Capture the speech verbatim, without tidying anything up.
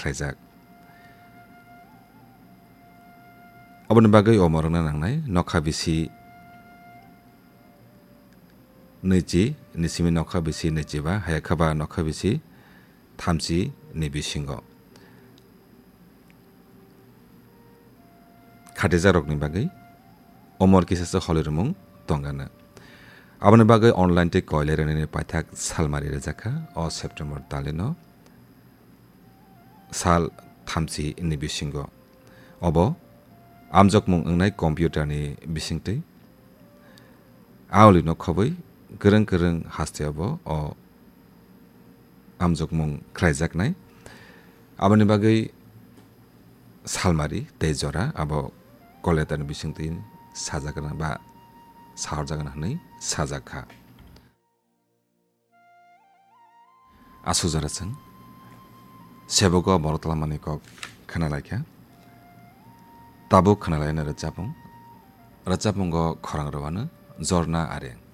khlaijak. Aboni bagwi omo rwna nangnai nokha bisi nwichi, ni simi nokha bisi nwichi ba, haya kha ba nokha bisi thamchi ni bisingo. Khatijakrokni bagwi omor kisa se holirwmung tongana. Aboni bagwi online tei koilai rwnani paithak salmari rwjakha o September talino sal thamchi ni bisingo. Obo amjokmung wngnai computer ni bisingtwi. Aolino khobwi kwrwng kwrwng haste obo o amjokmung khlaijaknai. Aboni bagwi salmari tei jora abo call letter ni bisingtwi sajakna ba sahorjakna hwnwi sajak kha. Aswk jora chwng sebogo borok tlamani kok khwnalaikha. Tabuk khwnalaina rwchapmung. Rwchapmungo khorang rwano Jorna Areng.